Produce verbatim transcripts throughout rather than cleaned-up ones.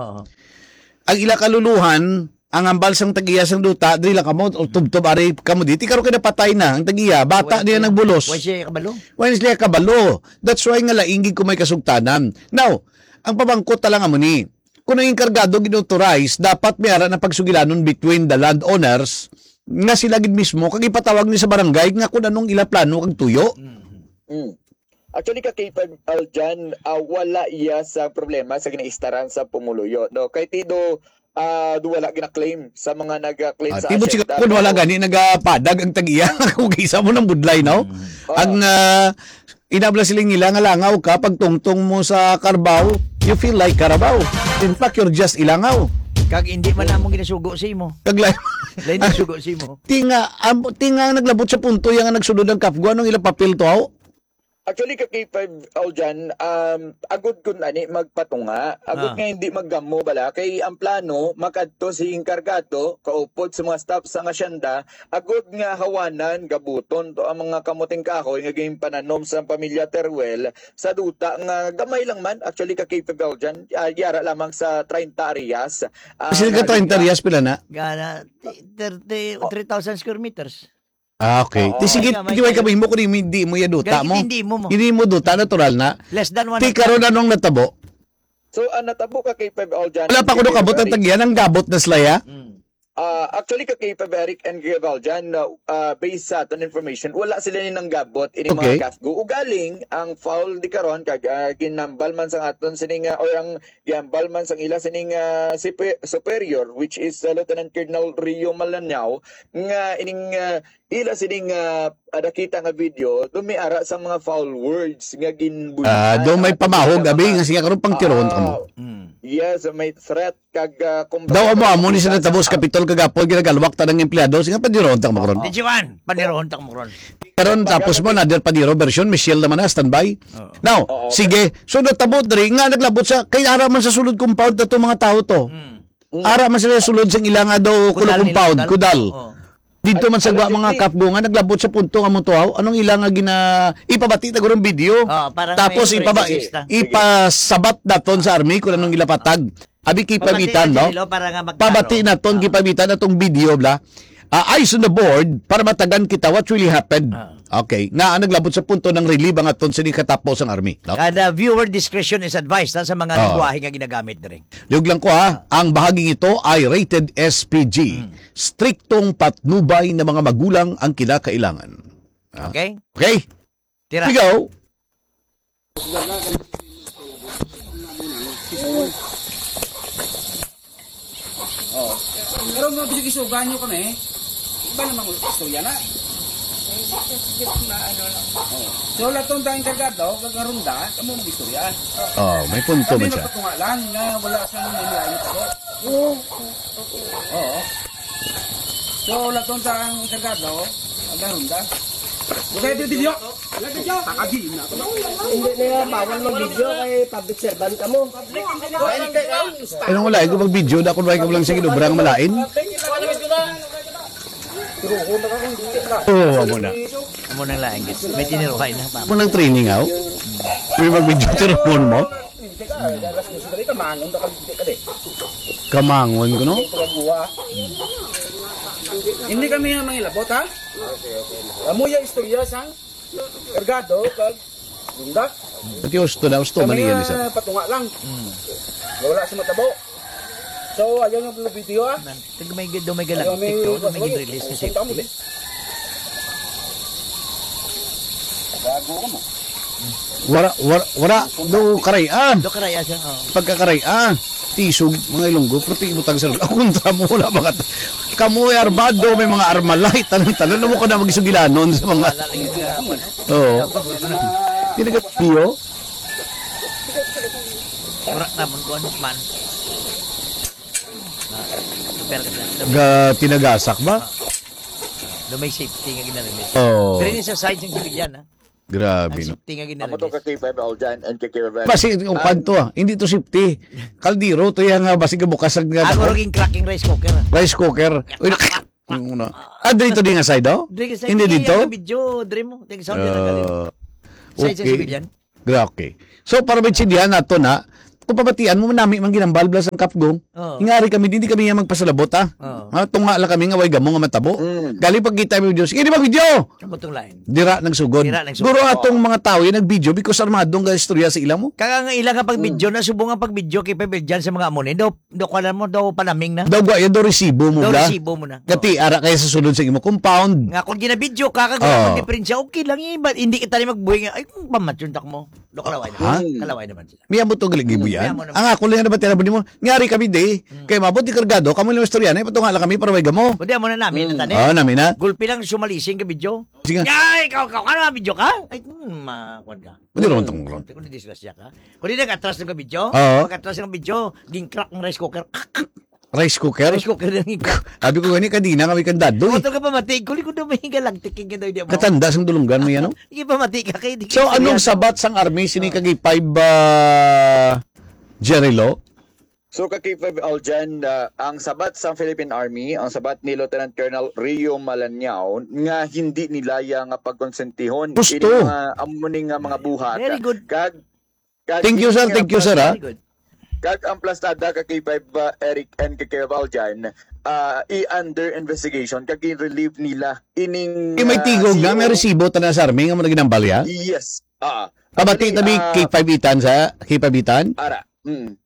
Oo. Ang ila kaluluhan, ang hambal sang tag-iya sang duta, diri lang kamo, o tubtob ari kamo dito. Karon kay napatay na ang tag-iya, bata Wala niya siya, nagbulos. Wala siya kabalo. Wala siya kabalo. That's why nga laing gid ko may kasugtanan. Now, ang pamangkot ta lang amo ni, kung ang enkargado gin-authorize, dapat may ara na pagsugilanon between the landowners nga sila gid mismo kag ipatawag ni sa barangay nga kung anong ila plano kag tuyo. Mm. Mm. Actually, ka K five Aljan, ah, wala iya sa problema sa ginaistaran sa pumuluyo, no? Kay tido, ah, do wala gina-claim sa mga nag-claim Ah, sa tibot siguro asyenda, kung wala no? Gani nagapadag ang tag-iya kung isa mo nang budlay, no? Mm. Ah. Ang, ah, inabla siling nila nga langaw ka pag tungtong mo sa Carabao, you feel like Carabao. In fact, you're just ilangaw. Kag hindi man namong ginasugo sa imo. Kag la- Lain ang sugo sa imo. Tinga, am, tinga ang naglabot sa punto yang nagsulod ang kapgo. Anong ilang papel to, haw? Actually, ka K five Aljan, um, agud kun ani magpatunga, agud Ah. nga hindi maggamo bala, kay ang plano makadto si enkargado, kaupod sa mga staff sa asyenda, agud nga hawanan, gabuton to ang mga kamuting kahoy nga ginpananom sa pamilya Teruel sa duta nga gamay lang man, actually, ka K five Aljan, ah, yara lamang sa treinta areas. Ah, Kasi ka treinta areas, pila na? Gana, thirty, three thousand square meters. Ah, okay. Oo. Di sige, Ay, gamay di kayo kayo. Kami mo kung hindi, hindi mo yan duta Ganun, mo. Hindi mo mo. Hindi mo duta, natural na. Less than one Ti hectare. Karon anong natabo? So, ang natabo ka kay Five Aljan, Wala pa kuno kabot ang tagyan, ang gabot na sila, ya? Mm. Ah, actually, ka kay Five Eric and Gabriel Jan, na, ah, based sa aton information, wala sila ni nanggabot ini mga Okay. CAFGU. Ugaling, ang foul di karon, kag, ah, ginambal man sa aton sining, ah, or ang ginambal man sang ila sining, ah, sipe-, superior, which is, ah, Lieutenant Colonel Rio Malanao, nga ining, ah, ila sining, ah, ah, nakita nga video, do may ara sa mga foul words nga ginbulihan Ah, do may ang aton pamahog, mga abi, nga siya karon pang tirohon ta mo. Ah, Mm. yes, may threat kag, ah, kumbaga, Daw amo, amo ni sa pagkakita natabo sa sa Kapitol kagapon, ginagalwak ta ng empleyado, sige, padirohon ta mo karon. Oo. Di Juan, padirohon ta mo karon. Karon, tapos mo, another Padiro version, Michelle naman na, standby. Oo. Now, Oo, sige, so natabo diri, nga naglabot sa, kay ara man sa sulod compound na to mga tao to. Mm. Mm. Ara man sila sulod sa ila nga daw kulo Kudal nila, compound, kudal. Kudal. Oo. Dito man sa Ano, gwa, mga Chief? CAFGU nga naglabot sa punto nga mutuaw, anong ila nga gina-, ipabati na gurong video? Ah, parang Tapos may ipaba-, protesta. Ipasabat daton sa army kung anong ila patag. Abi, Pabati kipabitan, na no? Dyan, Lilo, para nga magklaro. Pabati naton, Ah. Kipabitan atong video, bla. Ah, eyes on the board, para matagan kita what really happened. Ah. Okay. Nga, ang naglabot sa punto ng relieve ang aton sini katapos ang army, no? Kada viewer discretion is advised, ha, sa mga Ah. lingwahe nga ginagamit diri. Liog lang ko, ha, ang bahaging ito ay rated S P G. Mm. Striktong patnubay na mga magulang ang kinakailangan. Ah. Okay? Okay? Tira. Ikaw? Oh. Pero mo bisig isugan nyo kami. Iba naman mo istorya na. Hindi ko, hindi ko maano lang. Oh. So, lahat tong tayong kargado, kagarunda, kamo mag-istorya. Oh, may punto Kami man siya. Magpatunga lang nga wala sa mga mga ano ko. Oo. Okay. Oo. So, laton sa ang kargado, ang garunda. Okay, video. Video. Takadi na. Hindi na yan, bawal mag-video kay public servant ka mo. Anong wala? Ikaw mag-video na kung wala ka lang sa ginubra nga malain? Oo, amo na. Amo nang lain, guys. May tiniruhay na, ma'am. Amo nang training, aw? May mag-video, tiruhon mo? Kamangon ka, hindi ka, di. Kamangon ko, no? Hindi kami ang mangilabot, ha? Amo yung istorya sang kargado, kag gunda. Pati gusto na, gusto Kami mali yan, nga isa. Patunga lang. Mm. Wala sa matabo. So, ayaw yung video, ha? Nan-, tag may, do may Ayaw, may galagtik to, do may ginrelease ni safety. Gago ka mo. Wala, wala, wala. Do karay, ah. Do karay, ah, siya, oh. Pagkakaray, ah. Tisog, mga Ilonggo, pero ti ibutang sa lugar. Ako, kontra mo, wala ba ka? Kamo ay armado, may mga armalay, tanan-tanan. Ano mo ka na magsugilanon sa mga Wala lang yung gagawin. Oo. Hindi ka piyo? Wala naman ko, ano man. Ah, pero kasi, Ga tinagasak ba? Do may safety nga ginarelease. Oo. Pero yun sa side ng sibilyan, ha? Grabe, Ang no? Safety nga ginarelease. Amo to ka K five Aljan and ka K five Basi, yung Ah, kwan to, ah. Hindi to safety. Kaldero to yan nga, basi bukas ang Ang uruging cracking rice cooker, ah. Rice cooker. Uy, nak-, yung una. Ah, dito din nga side, oh? Dito sa Hindi side, dito? Yung video, dre mo. Tingnan sa Ah, Side sa okay. Sibilyan. Gra-, okay. So, para maintindihan nato na, Kung pamatian mo, nami man ginambal bala sang kapgo. Oo. Ingari kami, hindi kami nga magpasalabot, ah. Oo. Ah, tunga lang kami nga way gamo nga matabo. Mm. Galing pagkita mo video, sige, di ba video? Ang butong lain. Dira nagsugod. Dira nagsugod. Guro Oo. atong mga tao yung nag-video because armado ang istorya sa ila mo. Kaya nga ila nga pag-video Mm. na, subong ang pag-video kay Pebel dyan sa mga amo ni. Daw, daw, kuwan mo, daw panaming na. Daw, gwa, yan daw resibo mo Daw bla. resibo mo na. Gati, Oo. ara kaya sa sulod sa imo compound. Nga, kung ginabidyo ka, kag Oo. magdiferensya, okay lang yun. But hindi kita rin magbuhay nga, ay, kung pamatyon tak mo. Do, kalaway naman. Ha? Kalaway naman sila. May amo to gali gibuyan. May amo naman. Ang ako lang na ba tira mo? Ngari kami, di. Hmm. Kay mabot di kargado, kamo lang istorya na, ipatunga lang kami para may gamo. Kundi amo na namin, Hmm. na tani. Ah, namin na. Gulpi lang sumalising ka video. Sige. Ay, ikaw, ikaw, ano nga video ka? Ay, hmm, ma-, kuwan ka. Hindi naman tong kuwan. Kundi disgrasya ka. Kundi nag-atras ng video. Oo. Pag-atras ng video, ging-crack ang rice cooker. Rice cooker? Rice cooker lang ikaw. Sabi ko gani, kadina kami kandado eh. Motor ka pamati, kuli ko daw may galactic king daw, di mo? Katanda sang dulunggan mo yan, no? Sige, pamati ka kay di So, ka anong istorya. sabat sang army sini Oh. kag five, ah, Jerry Lo? So, ka K five Aljan, ah, ang sabat sang Philippine Army, ang sabat ni Lieutenant Colonel Rio Malanyaw nga hindi nila ya nga pagkonsentihon Gusto. Ini mga amo ni nga mga buhat. Very good. Kag, kag Thank you, ini sir. nga Thank you, sir, plas-, ha? Very good. Kag ang plastada ka K five, ah, Eric and ka K five Aljan, ah, i-under investigation kag i-relieve nila ining, Eh, may ah, tigog na, may C E O. resibo ta na sa army nga mo na ginambalya? Yes. Ah. Pabati Actually, tabi ah, K five Itan sa K five Itan? Ara. Mm.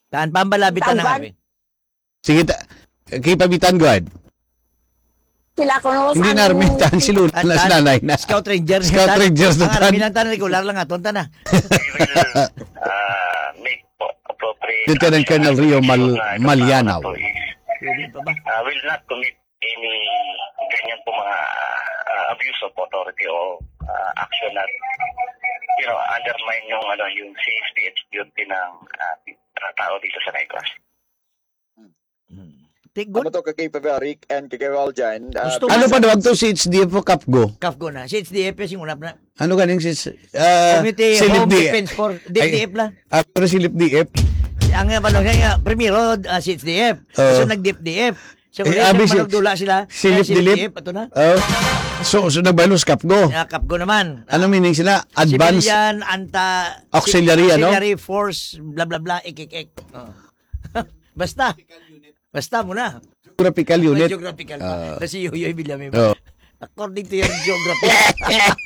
Tan, pambalabi ta na Tanggal. nga, eh. Sige, ta-, K five Itan, go ahead. Sila ko no Hindi sa na army, ano. tan, si Luna Tan, na, si tan. Nanay na. Scout Ranger, Scout tan. Ranger na, Ang tan. army lang, tan, regular lang aton, tan, ah. We will, ah, make po appropriate Lieutenant Colonel Rio action Mal-, sa issue na ito Malianaw. is Pwede pa ba? Ah, will not commit any ganyan po mga, ah, abuse of authority o, ah, action na, you know, undermine yung, ano, yung safety and security ng, ah, mga tao dito sa Negros. Hmm. Ti-, Ano good. to, ka K five Eric and ka K five Aljan? Ah, Gusto Ano mo pa sa daw to, C H D F o Kapgo? Kapgo na. C H D F, sing unap na. Ano ganing si, ah, Community Silip Home D F? Defense Force, Ay, D F F lang. ah, pero Silip D F. Ang, ah, ano, kaya, primero, ah, C H D F. Oo. So, nag-D F D F. So, Eh, ulit, abi si-, nagpanagdula sila. Silip Kaya Silip Dilip. D F, ato na. Oh. So, so nagbalos Kapgo. Yeah, Kapgo naman. Anong meaning sila? Advance Civilian, anta-, Auxiliary, ano? Auxiliary Force, bla, bla, bla, ik, ik, ik. Oh. Basta. Basta mo na. Geographical unit. Geographical pa. Ah. Kasi Yoyoy Villanueva. Oh. According to your geography.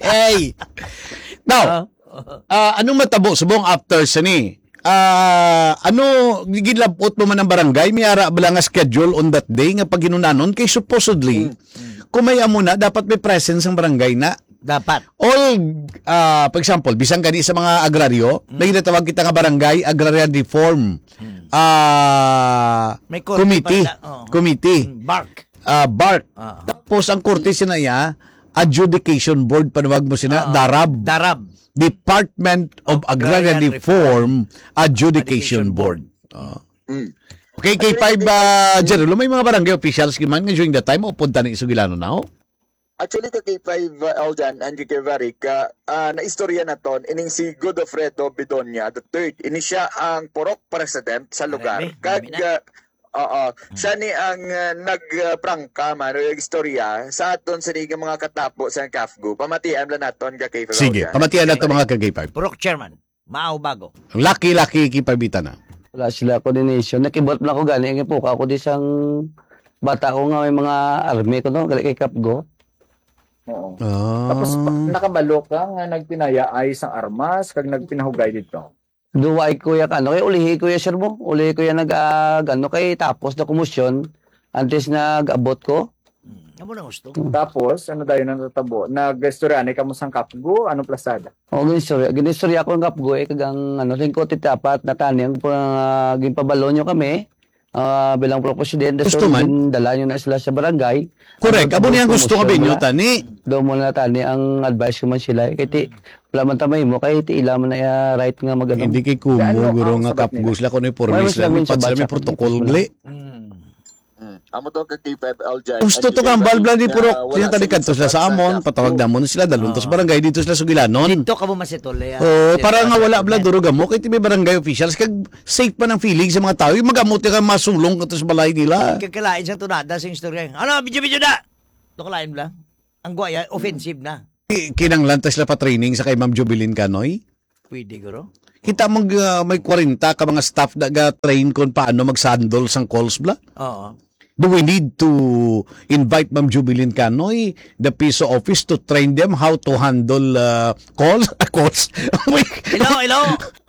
Hey! Now, Ah. ah, anong matabo subong after sini? Ah, ano, gilabot mo man ang barangay? May ara bala nga schedule on that day nga paghinunanon? Kay supposedly, Mm. kung may amo na, dapat may presence ang barangay na. Dapat. All, ah, for example, bisan gani sa mga agraryo, Mm. may ginatawag kita nga barangay agrarian reform, Mm. ah, May korte committee. pa sila. Oo. Committee. Mm, bark. Ah, bark. Ah. Tapos ang korte sina iya, adjudication board, panawag mo sina, Ah, darab. darab. Department of Of Agrarian Agrarian Reform Reform Adjudication Adjudication Board. Board. Ah. Mm. Okay, K five, Actually, ah, General, may mga barangay officials man nga during that time, o punta ni Sugilano na, oh? Actually, ka K five, uh, Aljan and ka K five Eric, uh, uh, naistorya naton ining si Godofredo Bedonia the third. Ini siya ang purok president sa lugar. Marami, Kag, marami na. uh, oo, Hmm. siya ni ang, uh, nag, uh, prangka man, o nag-istorya sa aton sini nga mga katapo sa Kafgo. Pamatian lang naton ka K five Sige, Aljan. pamatian naton, mga ka K five. Purok chairman. Mao bago. Lucky, lucky, kipabitan na. Wala sila coordination. Nakibot lang ako gani, ang ipuka ko di sang bata ko nga may mga army ko, no? Gali kay Kapgo. Oo. Ah. Tapos, pa-, nakabalo ka nga nagpinayaay sang armas, kag nagpinahugay dito? Duway ko ya, ano, kay ulihi ko ya, sir mo. Ulihi ko ya nag, ah, ano, kay tapos na kumusyon, antes nag-abot ko. Hmm, amo na gusto. Tapos, ano dayon ang natabo? Nag-istorya ni kamo sang Kapgo? Anong plasada? O, gin-istorya, gin-istorya ko ang Kapgo, eh, kag ang, ano, lingkot iti apat na tani ang pa-, ginpabalo nyo kami, ah, bilang pro presidente. Gusto So, man. gindala nyo na sila sa barangay. Correct. Ano, Abo niya ang gusto nga promotion binyo, na. tani. Doon mo na, tani, ang advice ko man sila, eh. Kay ti, wala man tamay mo, kay ti ila man na, ah, right nga mag-, ano. Hindi kay kumo, Ano guro ang nga sabat nila? Kapgo sila, kung may Wala pormis sila, sila, may sa pad sila, may batsa, protocol, kumo sila. gali. Mm. Mm. Amo to ka K five Aljan. Gusto to ka ang balblan ni Purok. Sila tadi kadto sila sa amon, patawag namon sila, dalon to sa Oo. barangay, dito sila sugilanon. Dito ka mo masitol, ya. Oo, Dito para ka nga wala masitol, bla ya. durog amo, kay ti may barangay officials, kag safe pa ng feeling sa mga tao, yung mag-amot ka masulong ka to sa balay nila. Kagkalain sa tunada sa istorya. Ano, video-video na! Ito kalain bla. Ang guwaya, offensive na. Ki-, kinanglan ta sila pa training sa kay Ma'am Jubilin Canoy? Pwede, guro. Kita mo, ah, may kwarenta ka mga staff na ga-train kung paano mag-handle sang calls, bla? Oo. Do we need to invite Ma'am Jubilin Canoy, the P S O office, to train them how to handle, uh, calls? Calls? Hello, hello.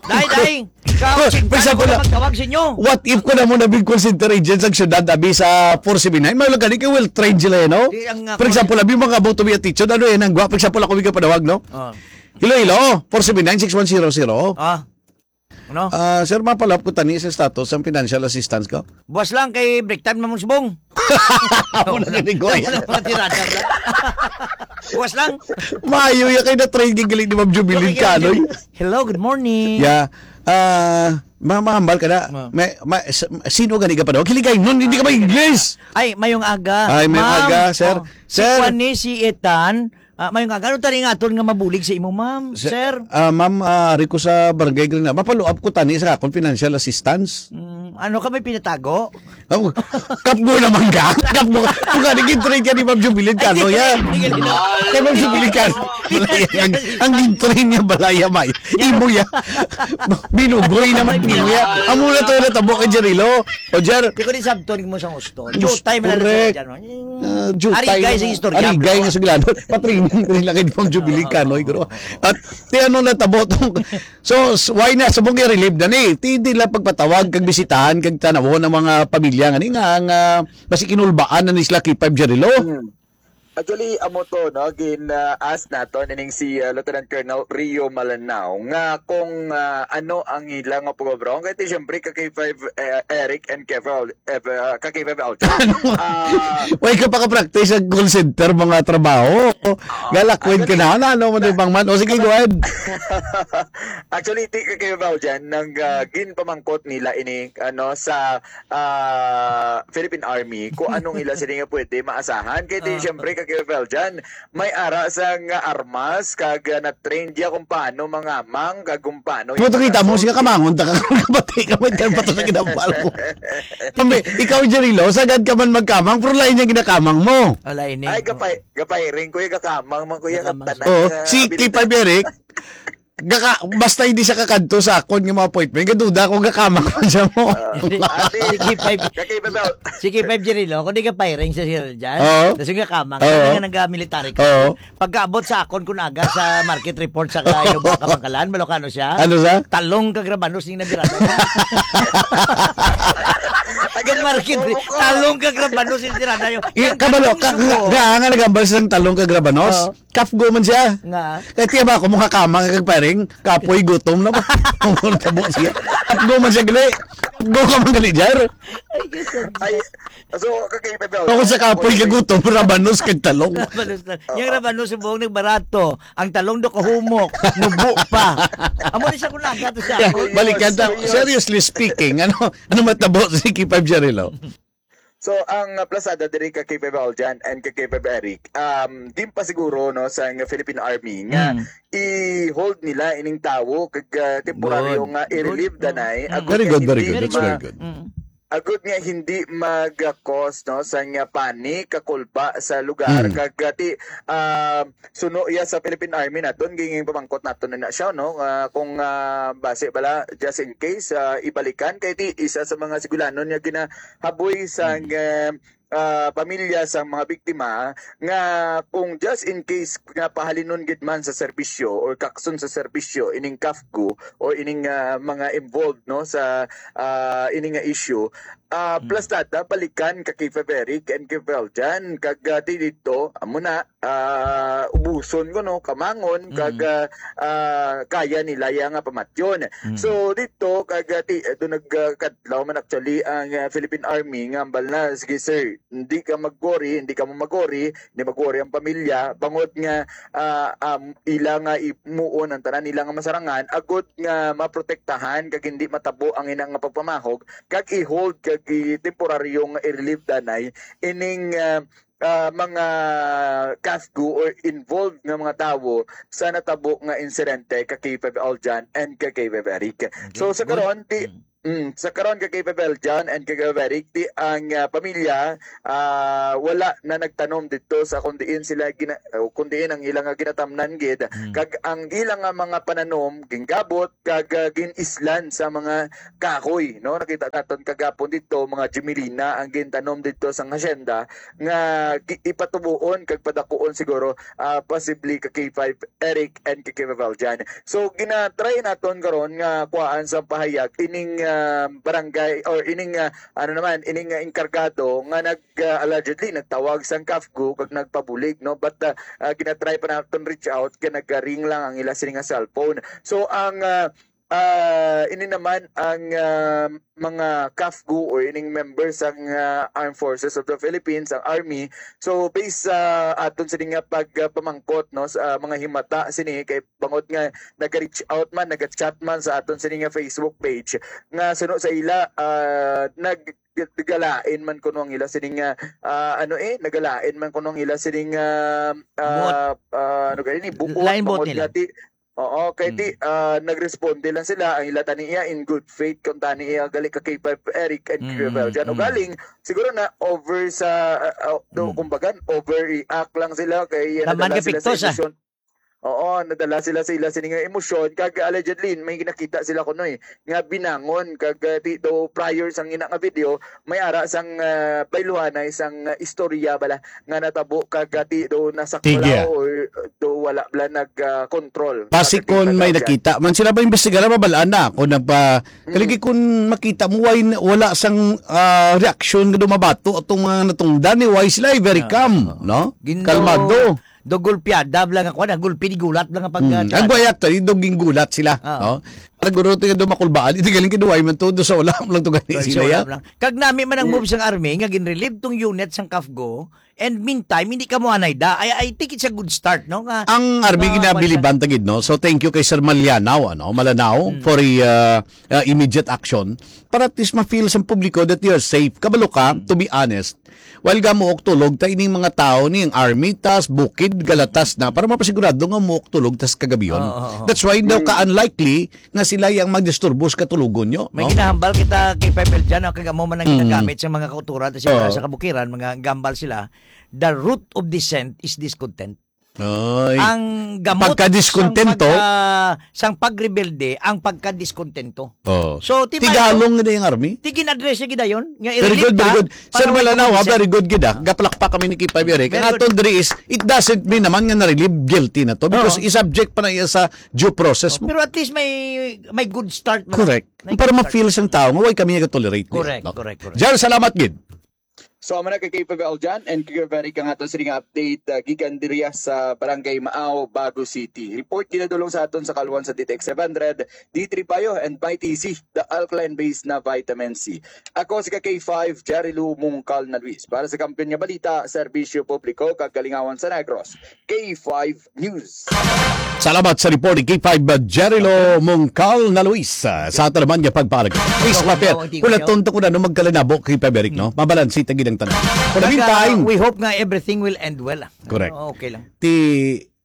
Day, day. Ikaw, Oh, for example, magtawag sa inyo. What if ko na mo na big call center agent sa syudad, abi sa four seven nine? May lang gani kay will train sila, you know? Di, ang, uh, For example, abi mga about to be a teacher, ano yan, ang gwa, for example, ako may kapanawag, no? Oh. Hello, hello, four seven nine, six one zero zero. Ah. Ano? Ah, sir, mapalap ko tani sa status ang financial assistance ko. Buwas lang kay break time, Mamang Subong. Ako na gani, Goy. Wala pa tirada lang. Buwas lang. Maayo ya kay na-train kay galing ni Ma'am Jubilin Okay, Canoy. Hello, good morning. Yeah. Ah, ma mahambal ka na. Ma. May, ma, s- sino gani ka pa daw? Kiligay nun, hindi ka mag-English. Ay, mayong aga. Ay, mayong Ma'am, aga, sir. Oh, si Sir. Juan ni si Ethan. Ah, mayong aga. Ano tani nga aton nga mabulig sa imo, ma'am? Sir, Sir? Ah, ma'am, ah, ari ko sa Barangay Green. Mapalo-up ko tani sa akong financial assistance. Mm, ano ka may pinatago? Oh, kapgo naman ka. Kapgo. Kung nga, nag-trade ka ni Ma'am Jubilin Cano, yan. Kay Ma'am Jubilin Cano. Ang, ang gin-train niya, balaya, may. Imo ya. Binugoy naman niyo ya. Amo na to, natabo kay Jerilo. O, Jer. Di ko din sabton mo sa gusto. Diyos, Jutay man ang correct. Dyan, no? Ah, jutay Arigay na sa nga. Istorya, Arigay bro. Nga sa gilano. Patrining, rin lang kay Ma'am Jubilin Cano, bro. At, ti ano natabo tong, so, s- why na sa mong i-relieve na ni? Ti, di lang pagpatawag, kag bisitahan, kag tanawon ang mga pamilya nga ni nga, nga, basi kinulbaan na ni sila kay Five Jerilo. Hmm. Actually, amo to, no? Gin, ah, ask naton ining si, ah, Lieutenant Colonel Rio Malanao nga kung, ah, ano ang ila nga pagbabarong. Kaya ti, siyempre, ka K five, eh, Eric and Kevin, eh, ah, ka K five Alton. Ano? Ah, Why ka pa ka-practice sa call center, mga trabaho? Ah, Galakwin ka actually, na, ano, ano, ano, na- bang man? O, sige, go ahead. Actually, ti ka K five Alton, nang, ah, ginpamangkot nila ini, ano, sa ah, Philippine Army kung anong ila sila nga pwede maasahan. Kaya di, Ah. siyempre, ka Kuya Veljan, may ara sa nga armas, kag, ah, na-train diya kung paano mangamang, kag kung paano Puto, kita mo, siya kamangon, ta ka, kapatay ka, may terpato sa kinapal mo. Kambi, ikaw, Jerilo, sagad ka man magkamang, pero lain yung ginakamang mo. Wala ini. Ay, gapay, gapay rin, kuya, gakamang man, kuya, Gakamang. Katanan, Oh, ah, si abilidad. K five Eric, Gaka, basta hindi siya kakadto sa akon nga mga appointment, gaduda ko, gakamang man siya mo. Ah, ate, Sige, five. Kakaiba daw. Sige, five Jerilo, kung di ka firing sa sila dyan, Oo. tas yung gakamang, Oo. Kaya nga nag-military ka. Oo. Pagkaabot sa akon, kung aga sa market report sa Kainuba, Kabangkalan, Malokano siya, Ano sa? Talong kag rabanos yung nabirada. Aga market re-, talong kag rabanos yung tirada yung, I-, yung kabalo, ka, suko. Nga, nga nagambal silang talong kag rabanos? Oo. Kapgo man siya. Nga. Kaya tiya ba ako, mukha kamang kag paring, kapoy gutom na ba? Ang tabo siya. Kapgo man siya gali. Kapgo ka man gali, Jar. Ay, so, kakaiba daw. Ako sa kapoy kag gutom, rabanos kag talong. Rabanos na. Yung rabanos, yung buong nagbarato. Ang talong do kahumok. Nubo pa. Amo ni sa kunaga to siya. Yeah, balikan ta. Seriously speaking, ano, ano matabo si K five Jarilo? So, ang, uh, plasada diri ka K five Aljan and ka K five Eric, um, ginpasiguro, no, sa nga Philippine Army nga Mm. i-hold nila ining tawo kag, uh, temporaryo Good. nga i-relieve Good. danay, Mm. agud Very nga good, very hindi good. That's ma-, very good. Mm. agud nga hindi mag-cause, no, sa nga panic, kakulba sa lugar, Mm. kag, uh, ti-, uh, suno iya sa Philippine Army naton, gingin pamangkot naton na, na siya, no? Ah, kung, ah, base bala, just in case, ah, ibalikan, kay ti isa sa mga sigulanon nga ginahaboy sa, Mm. nga, ah, pamilya sa mga biktima, nga kung just in case nga pahalinon gid man sa serbisyo or kakson sa serbisyo ining kafgo or ining, ah, mga involved, no, sa, ah, ini nga issue, ah, Mm. plus data, balikan ka kay Feberic and kay Veljan, kag, ah, ti dito, amo na, ah, ubuson ko, no, kamangon, kag, Mm. ah, ah, kaya nila ya nga pamatyon. Mm. So, dito, kag, ah, ti-, ah, doon nagkadlaw man actually ang, ah, Philippine Army nga hambal na, "Sige, sir, hindi ka mag-worry, hindi ka mo mag-worry, hindi mag-worry ang pamilya, bangod nga, ah, um, ila nga imuon ang tanan nila nga masarangan, agud nga maprotektahan kag hindi matabo ang ina nga pagpamahog, kag i-hold, kag i-, temporaryong i-relieve danay ining, ah, ah, mga kafgo or involved nga mga tawo sa natabo nga insidente ka K five Aljan and ka K five Eric." Okay, So, sa good. karon, ti-, Mm. Mm, sa karon, ka K five L John and ka Kuya Eric, ti ang, ah, pamilya, ah, wala na nagtanom dito sa kung diin sila gina-, o kung diin ang ilang, ah, ginatamnan gid. Mm. Kag ang ilang, ah, mga pananom, ginggabot, kag, ah, gin-islan sa mga kahoy, no? Nakita naton kagapon dito, mga jumelina ang gintanom dito sa hacienda nga gi-, ipatubuon kag padakuon siguro, ah, possibly ka K five Eric and ka K five L John. So, ginatry naton karon nga kuhaan sa pahayag ining, ah, barangay or ining, ah, ano naman, ining, ah, enkargado nga nag, ah, allegedly nagtawag sang CAFGU kag nagpabulig, no? But, ah, ah, ginatry pa naton reach out kay nagaring lang ang ila sini nga cellphone. So, ang, ah, ah, ini naman ang, ah, mga CAFGU o ining member sang, ah, Armed Forces of the Philippines, ang Army. So, based sa aton sini nga pagpamangkot, no, sa mga himata sini, kay bangod nga naga-reach out man, naga-chat man sa aton sini nga Facebook page, nga suno sa ila, ah, nag-, nagalain man kuno ang ila sini nga, ah, ano eh, nagalain man kuno ang ila sini nga, ah, ah, ano gani, buot, lain buot bangod nila. Nga ti-, oo, kay ti, Mm. ah, nagresponde lang sila, ang ila tani iya in good faith, kung tani iya gali ka K five Eric and Mm, K five L John. O mm. galing, siguro na over sa, ah, ah, do, Mm. kumbaga, overreact lang sila, kay Naman nadala ka sila sa piktos, ah. emosyon. Oo, nadala sila sa ila sini nga emosyon, kag allegedly, may nakita sila kuno eh, nga binangon, kag, ah, ti, do, prior sang ina nga video, may ara sang, ah, bayluhanay sang, ah, istorya bala nga natabo kag, ah, ti, do, nasaklaw Tigya. or, ah, do, wala bala nag, ah, control. Basi Sa kon may tingkagaw dyan. nakita man sila ba imbestigar, mabalaan na ako nagpa-, Mm. kaligi kun makita mo, why n-, wala sang, ah, reaksyon nga dumabato atong mga natungdan ni, why sila ay very Ah, calm, oo. no? Gin-, Kalmado. do gulpiada lang ako, na gulpi di gulat lang ang pag, Mm. ah, Ang buhay actually, do ginggulat sila, Ah. no? Naguro to yung dumakulbaan, ito galing kinuway man to, do sa ulam lang to gani Ay, sila, sa ya? ulam lang. Kag nami man ang Mm. move sang army, nga ginrelieve tong unit sang CAFGU, and meantime, hindi ka mo anay da. I, I think it's a good start, no? Nga, Ang army nga, ginabiliban ta gid, no? So, thank you kay Sir Malianaw, ano, Malanao, Mm. for a, uh, uh, immediate action. Para at least ma-feel sa publiko that you're safe. Kabalo ka, Mm. to be honest, while ga muok tulog, ta ining mga tao ni ang army, tas bukid, galatas na, para mapasigurado nga muok tulog, tas kagabion. Oo, oo, oo. That's why daw Mm. ka-unlikely nga sila yung magdisturbo sa katulogon nyo, May no? ginahambal kita kay Pepel dyan, ang kagamo man ang Mm. ginagamit sa mga kauturan, tas Oo. sa kabukiran, mga gambal sila, the root of dissent is discontent. Ay. Ang gamot Pagkadiscontento. sang pagka-, sang pagrebelde, ang pagkadiscontento. Oh. So, ti Tigalong na yung army? Ti gin-address niya gidayon, nga Very i-relieve good, very ka good. Sir para wala Malanaw, ha, kumbinsi. Very good gid, ah. Ah. Gapalakpak kami ni Kipay Biyari. Very Kaya good. Aton diri is, it doesn't mean naman nga na-relieve guilty na to because Oo. i-subject pa na iya sa due process mo. Pero at least may, may good start man. Correct. May Para good start. ma-feel sang tao nga, why kami nag-tolerate niya, Correct, no? correct, correct. Jar, salamat gid. So, amo na kay K five L John and Kuya Very kang ato sining update, ah, gikan diriya sa Barangay Maaw, Bago City. Report ginadulong sa aton sa Kalwan sa D T X seven hundred, D three Bio and Mighty C, the alkaline base na vitamin C. Ako si ka K five, Jerry Lou Mungkal na Luis. Para sa Kampiyon nga Balita, Serbisyo Publiko, kag Kalingawan sa Negros, K five News. Salamat sa report ni K five Jerry Lou Mungkal na Luis, ah, sa ato naman nga pagpalag. Please, Wow, papel. wow, ang tingin Wala niyo. tonto ko na no magkalinabo kay Paberic, no? Hmm. Mabalansi ta gid ang tanan. For the Kag, ah, meantime, we hope nga everything will end well, ah. Correct. Oo, okay lang. Ti,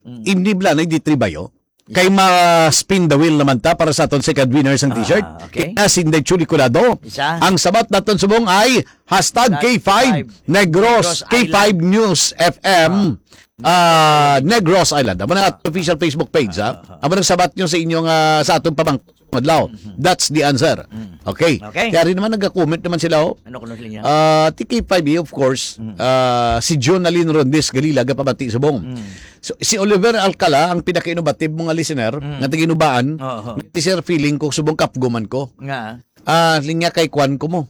Mm. imnibla na di tribayo. Kay ma-spin the wheel naman ta para sa aton second winner sang Ah, t-shirt. okay. Kay Sinday Chuli Colado. Isa. Ang sabat naton subong ay hashtag Hashtag K five Negros, Negros K five Island. News F M, Ah. ah, Negros Island. Amo na Ah. official Facebook page, ha? Ah, ah, ah. Amo nang sabat nyo sa inyong, ah, sa atong pamang-, adlaw. Mhm. That's the answer. Mm. Okay. Okay. Kaya rin naman nagka-comment naman sila, oh. Ano kuno sila niya? Ah, T K five E, of course. Mm. Ah, si Jonalyn Rondes Galila, gapabati subong. Mm. So, si Oliver Alcala, ang pinaka-innovative mo nga listener, Mm. nga taga-Inubaan, Oo. si Sir, feeling ko, subong kapguman ko. Nga. Ah, linya kay kwan ko mo.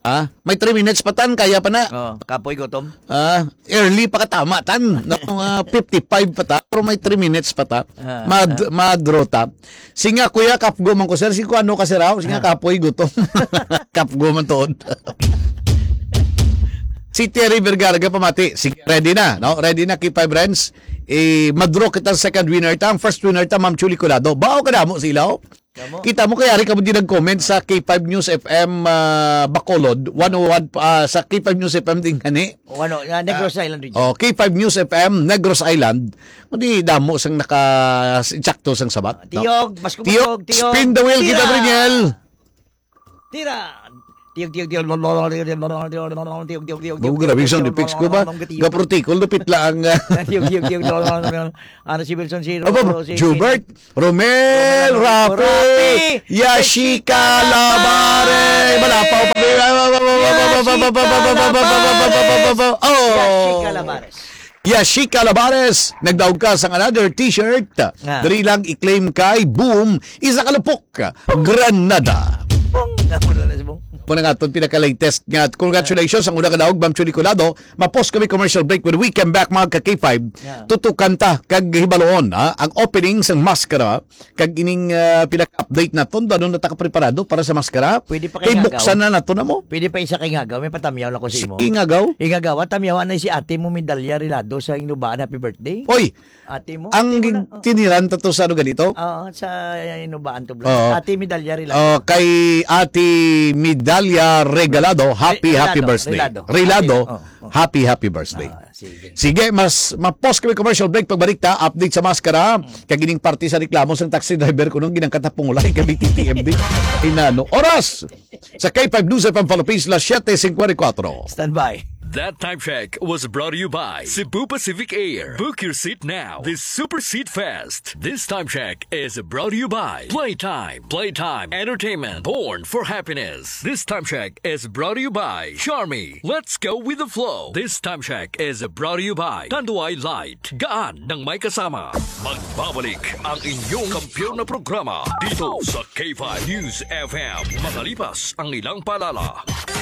Ah, may three minutes pa tan, kaya pa na. Oh, kapoy gutom. Ah, early pa ka tama tan. No, mga fifty-five pa ta, pero may three minutes pa ta. Ah, Mad-, ah. Madro ta. Singa, kuya, kapgo man ko, sir. Si kuano ka, sir, ah? Singa, Ah. kapoy gutom. Kapgo man tuod. Si Terry Vergara, pamati. Sige, ready na, no? Ready na, K five Renz. Eh, madro kita second winner ta. Ang first winner ta, Ma'am Chuli Colado. Bao ka damo sila, oh. Kamo? Kita mo, kaya rin kamo di nag-comment sa K five News F M, ah, Bacolod, one oh one, ah, sa K five News F M din gani. O ano, ah, Negros Ah, Island region. oh, K five News F M, Negros Island. Hindi damo sang naka-, insakto sang sabat, Ah, no? Tiyog, mas Tiyog, kumutog, Tiyog. spin the wheel, kita, Tira! Briniel. Tira! Tiyog, tiyog, tiyog, lo, lo, lo, tiyog, tiyog, tiyog, tiyog, tiyog, Bago grabe ang sound effects ko ba? Gaprotikol, lupit lang. Tiyog, tiyog, tiyog, lo, lo, lo, lo. Ano si Wilson, si Aba, Ro-, si Jubert, Romel, Romel, Rafi, Rafi, Yashika Labare. Malapaw pa. Yashika Labare. Oh. Yashika Labares. Yashika Labares, nagdaog ka sang another t-shirt. Ah. Dali lang i-claim kay Boom, isa ka lupok, Granada. Bong! Ako na lang si Bong. Muna nga itong pinaka-latest nga. Congratulations ang una ka daog, Ma'am Chuli Colado. Ma-pause kami commercial break. When we come back, mga ka K five, Yeah. tutukan ta kag hibaluon, ha? Ang opening sang maskara, kag ining, ah, pinaka-update naton, ano na ta ka preparado para sa maskara? Pwede pa Kay kay buksan Ngagaw. na nato na mo. Pwede pa isa kay Ngagaw, may patamyaw lang ko sa imo. Sige, Ngagaw. Kay Ngagaw, tamyawan na si ate mo, Medalya Rilado, sa inubaan, happy birthday. Oy, Ate mo? ang Ate mo na, oh. tiniran ta to sa ano ganito? Oo, sa inubaan to, bro. Oo. Ate Medalya Rilado. Oh, kay Ate Medalya Regalado, happy, Re-, happy Rilado, birthday. Rilado. Rilado, Ate, oh, oh. happy, happy birthday. Ah, sige. Sige, mas, ma-pause kami commercial break. Pagbalik ta, update sa maskara. Kag ining parte sa reklamo sang taxi driver ko nung ginangkat na pungulay kami T T M D. Inano. Oras! Sa K five News F M Philippines, las siete cincuenta y cuatro. Stand by. That time check was brought to you by Cebu Pacific Air. Book your seat now. This Super Seat Fest. This time check is brought to you by Playtime. Playtime Entertainment. Born for happiness. This time check is brought to you by Charmy. Let's go with the flow. This time check is brought to you by Tanduay Light. Gaan ng may kasama. Magbabalik ang inyong kampiyon na programa dito sa K five News F M. Makalipas ang ilang paalala.